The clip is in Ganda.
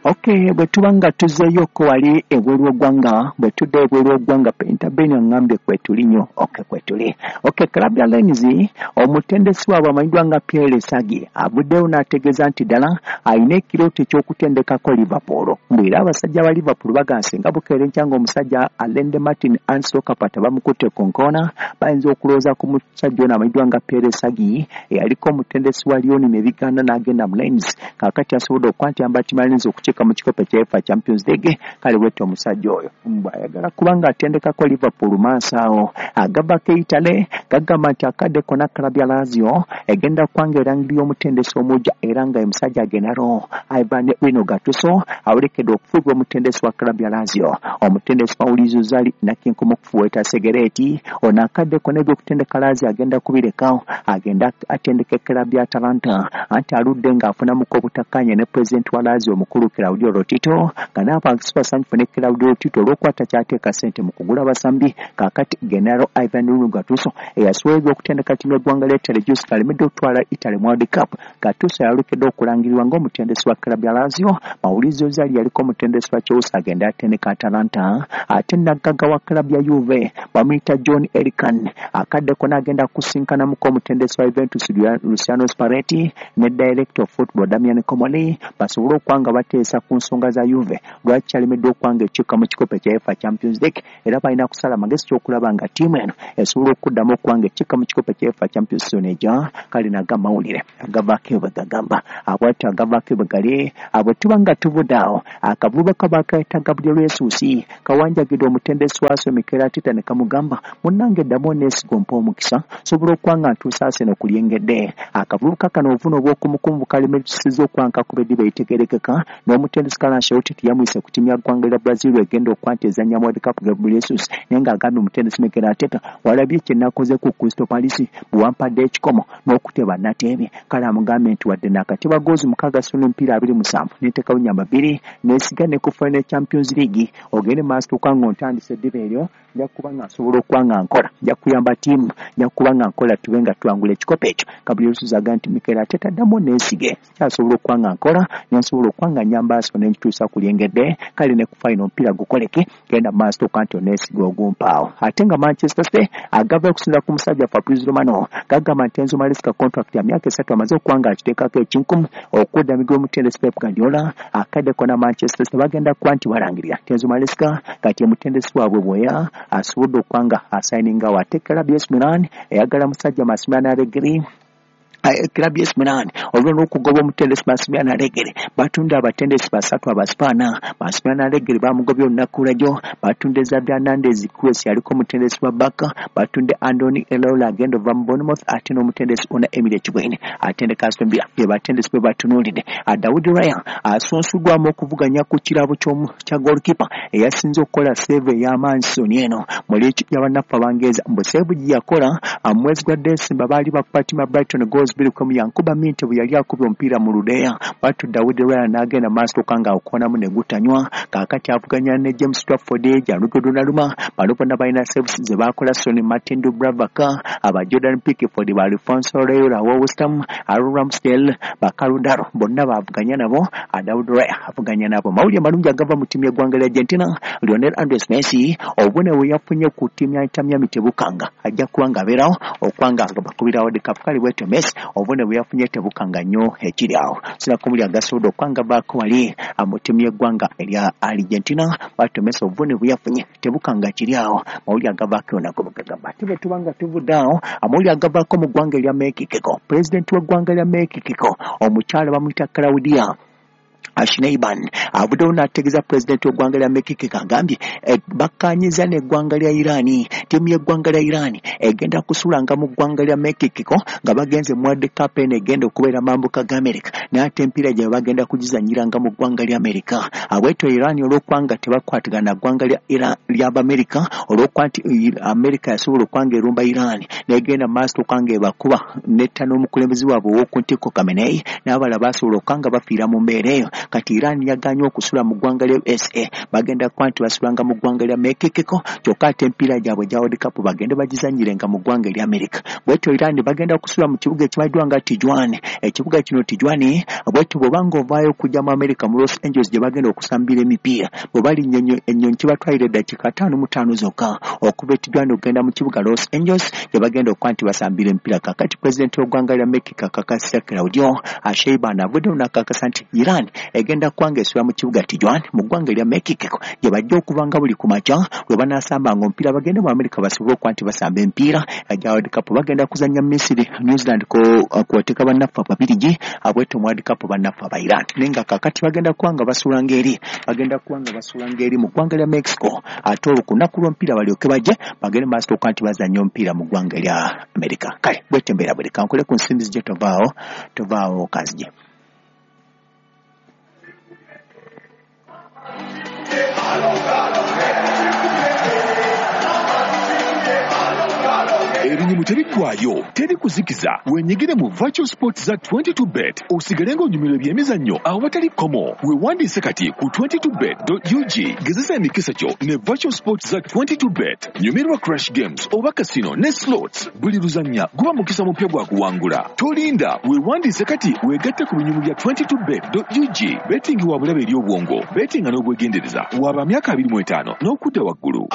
Okay, bwe tuba nga tuzzeeyoko wali ebweru w'eggwanga, bwe tudda ebweru w'eggwanga, Penta Ben aŋŋambye kwetuli nnyo. Okay, kwetuli. Okay, club ya Lens, omutendesi waabwe amanyiddwa nga Pierre Sagi avuddeyo n'ategeeza nti ddala alina ekirooto eky'okutendekako Liverpool. Mbu era abasajja ba Liverpool bagamba singa bukeera enkya ng'omusajja Alende Martin Anso Kapata bamukutte ku nkoona, bayinza okulowooza ku musajja ono amanyiddwa nga Pierre Sagi eyaliko omutendesi wa Lyon ne bigaana n'agenda mu Lens. Kaakati asobodde okukwatiyamba ttiimu ya Lens okukiika mu kikopo ekya UEFA Champions League. Kale bwetyo omusajja oyo mbu ayagala kubanga atendekako Liverpool maaso awo. Agavako Italy gagamba nti akadde konna club ya Lazio egenda kubanga erangirira omutendesi omujja, era nga omusajja Gennaro Ivan Rino Gattuso awerekedde okufuulibwa omutendesi wa club ya Lazio. Omutendesi Maurizio Sarri nakinkumu okufuweeta segereeti ono akadde konna ebyokutendeka Lazio agenda kubirekawo, agenda atendeke club ya Atalanta, anti aludde ng'afunamuko obutakkaanya ne pulezidenti wa Lazio omukulu Claudio Lotito, nga n'abantu si basanyufu ne Claudio Lotito olw'okukwata kyateeka ssente mu kugula abasambi. Kaakati Gennaro Ivan Rino Gattuso eyasobola ebyokutendeka ttiimu y'eggwanga lya Italy Juice alemedde okutwala Italy mu World Cup. Gattuso yalukedde okulangirirwa ng'omutendesi wa club ya Lazio. Maurizio Sarri yaliko omutendesi wa Chelsea agenda atendeka Atalanta. Ate naggaga wa club ya Juve bamuyita John Elkann akadde konna agenda kusinkanamuko omutendesi wa Juventus Luciano Spalletti ne director of football Damian Comolli basobole okuba nga bateesa ku nsonga za Juve lwaki kyalemeddwa okuba nga ekiika mu kikopo ekya UEFA Champions League, era balina kusala amagezi ky'okulaba nga ttiimu eno esobola okuddamu okuba nga ekiika mu kikopo ekya UEFA Champions Season ejja. Kale naga amawulire agavaako bwe gagamba abwatyo agavaako bwe gali. Bwe tuba nga tuvudde awo, akavubuka bakayita Gabriel Jesus kawanjagidde omutendesi wa Arsenal Mikel Arteta ne kamugamba, munnange ddamu oneesiga ompe omukisa nsobola okuba nga ntuusa Arsenal ku lyengedde. Akavubuka kano obuvune obw'okumukumu bukalemesezza okuba nga kakuba eddiba eritegeerekeka, n'omutendesi Carlo Ancelotti teyamuyise ku ttiimu ya ggwanga lya Brazil egenda okuba nti ezannya World Cup. Gabriel Jesus naye ng'agambye omutendesi Mikel Arteta, walabye kye nakoze ku Crystal Palace bwe wampadde ekikomo n'okuteba nateebye. Kale amugambye nti wadde nakateba goozi 6 suna emipiira 27 neteekawo nnyamba 2 neesiga ne ku final Champions League ogende maaso okuba ng'ontandise eddiba eryo, nja kuba nga nsobola okuba nga nkola, nja kuyamba ttiimu, nja kuba nga nkola tube nga tuwangula ekikopo ekyo. Gabriel Jesus agamba nti Mikel Arteta ddamu neesige, kyasobola okuba nga nkola nensobola okuba nga nnyamba Arsenal ne nkituusa ku lyengedde. Kale ne ku final omupiira gukoleke, genda maaso okuba nti oneesiga ogumpaawo. Ate nga Manchester City agava okusinziira ku musajja Fabrizio Romano gagamba nti Enzo Maresca contract ya myaka 3 amaze okuba nga akiteekako ekinkumu okudda migwa omutendesi Pep Guardiola. Akadde konna Manchester City bagenda kuba nti balangirira Enzo Maresca kati omutendesi waabwe bweya asobodde okuba nga asayiningawo. Ate club ya AC Milan eyagala musajja Massimiliano Allegri. Club ya AC Milan olwo n'okugoba omutendesi Massimiliano Allegri, batunda abatendesi 3 Abaspaana. Massimiliano Allegri bamugobye olunaku lwajjo, batunde Xavi Hernandez Cruz yaliko omutendesi wa Barca, batunde Andoni Iraola agenda ova mu Bournemouth, ate n'omutendesi Unai Emery Ekigwene atendeka Aston Villa be batendesi bwe batunuulidde. David Raya asunsuddwamu okuvuganya ku kirabo kya goalkeeper eyasinze okukola save ey'amaanyi season eno mu liigi y'abannaffe Abangereza. Mbu save gye yakola mu mwezi gwa December baali bakuba ttiimu ya Brighton goals 2-1, yankuba Minte bwe yali akubye omupiira mu ludeya, bwatyo David Raya n'agenda maaso okuba nga akoonamu ne gutanywa. Kaakati avuganya ne James Trafford, Gianluigi Donnarumma, bano bonna balina saves ze baakola, Sonny Martin Dubravka, aba Jordan Pickford, ba Alfonso Areola wa West Ham, Aaron Ramsdale, ba Caludaro bonna baavuganya nabo. David Raya avuganya nabo. Mawulire malungi agava mu ttiimu y'eggwanga lya Argentina, Lionel Andres Messi obubonero bwe yafunye ku ttiimu ya Inter Miami tebukanga, ajja kuba nga abeerawo okuba nga bakubira World Cup. Kale bwetyo Messi obubonero bwe yafunye tebukanga nnyo ekiri awo. Sinakumuli agasobodde okuba nga baako wali mu ttiimu y'eggwanga erya Argentina, bwatyo Messi obubonero bwe yafunye tebukanga kiri awo. Mawulire agavaako nago bwe gagamba. Ate bwe tuba nga tuvudde awo, amawulire agavaako mu ggwanga erya Mexico, pulezidenti w'eggwanga lya Mexico omukyala bamuyita Claudia Sheinbaum avuddewo n'ategeeza pulezidenti w'eggwanga lya Mexico, agambye bakkaanyiza n'eggwanga lya Iran, ttiimu y'eggwanga lya Iran egenda kusulanga mu ggwanga lya Mexico nga bagenze mu World Cup eno egenda okubeera mambuka ga America, naye ate emipiira gyabwe bagenda kugizannyiranga mu ggwanga lya America. Abwetyo Iran olw'okuba nga tebakwatagana na ggwanga ly'Abamerika, olw'okuba nti America yasobola okuba nga erumba Iran n'egenda mu maaso okuba nga ebakuba netta n'omukulembeze waabwe ow'oku ntikko Khamenei n'abalala basobola okuba nga bafiira mu mbeera eyo. Kati Iran yaganye okusula mu ggwanga lya USA, bagenda kuba nti basulanga mu ggwanga lya Mexico, kyokka ate emipiira gyabwe egya World Cup bagende bagizannyirenga mu ggwanga erya America. Bwetyo Iran bagenda kusula mu kibuga ekimanyiddwa nga Tijuana. Ekibuga kino Tijuana, bwetyo bw'oba ng'ovaayo okujja mu America mu Los Angeles gye bagenda okusambira emipiira, bwe balinnya ennyonyi kibatwalira eddakiika 55 zokka okuva e Tijuana okugenda mu kibuga Los Angeles gye bagenda okuba nti basambira emipiira. Kaakati pulezidenti w'eggwanga lya Mexico akakasizza Claudio Sheinbaum avuddeyo n'akakasa nti Iran egenda kuba ng'esula mu kibuga Tijuana mu ggwanga erya Mexico gye bajja okuva nga buli ku makya lwe banaasambanga omupiira bagende mu America basobole okuba nti basamba emipiira egya World Cup. Bagenda kuzannya Misiri, New Zealand kw'oteeka bannaffe Ababirigi, abwetyo mu World Cup bannaffe aba Iran. Naye nga kaakati bagenda kuba nga basulanga eri, bagenda kuba nga basulanga eri mu ggwanga lya Mexico, ate olwo ku lunaku lw'omupiira balyoke bajje bagende mu maaso okuba nti bazannya omupiira mu ggwanga erya America. Kale bwetyo embeera bweri. Kankole ku nsimbi zijje tovaawo, tovaawo kanzije. Ebinyumu tebiggwayo, teri kuzikiza. Wenyigire mu virtual sports za 22 bet osigale ng'onyumirwa ebyemizannyo awatali kkomo. Weewandiise kati ku 22bet.ug. Gezesa emikisa gyo ne virtual sports za 22 bet. Nyumirwa crash games oba casino ne slots. Buli luzannya guba mukisa mupya gwa kuwangula. Tolinda, weewandiise kati weegatte ku binyumu bya 22bet.ug. Betting wa bulabe eri obwongo, bettinga n'obwegendereza. Waba myaka 25 n'okudda waggulu.